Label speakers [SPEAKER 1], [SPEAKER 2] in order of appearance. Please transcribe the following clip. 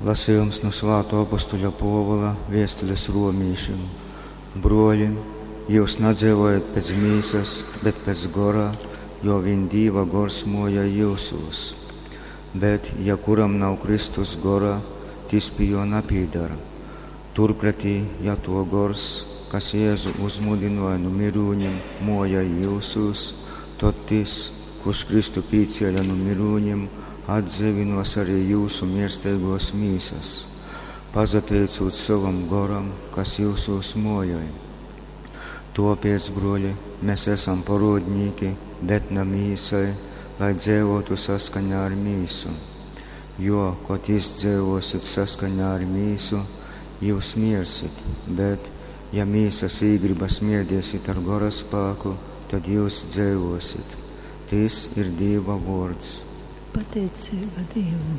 [SPEAKER 1] Lasejums nu svātō apostuļa Pōvula vēstules romīšim. Brōli, jyus nadzeivojat pēc mīsas, bet pēc gora, jo vīn Dīva gors mojoj jyusūs. Bet, ja kuram nav Kristus gora, tys pi jō napīdar. Turpretī, ja tō gors, kas Jēzu uzmūdynōja nu myrūnim, mojoj jyusūs, tod tys, kurš Kristu pīcēle nu myrūnim, atdzeivynōs arī jyusu miersteigōs mīsas, pasateicūt sovam goram, kas jyusūs mojoj. Tōpēc, brōli, mes esam porōdnīki, bet na mīsai, lai dzeivōtu saskaņā ar mīsu. Jo, kod izdzeivōsit saskaņā ar mīsu, jyus miersit, bet, ja mīsas īgrybas mierdiesit ar gora spāku, tad jyus dzeivōsit. Tys ir Dīva vōrds.
[SPEAKER 2] Pateiceiba Dīvam.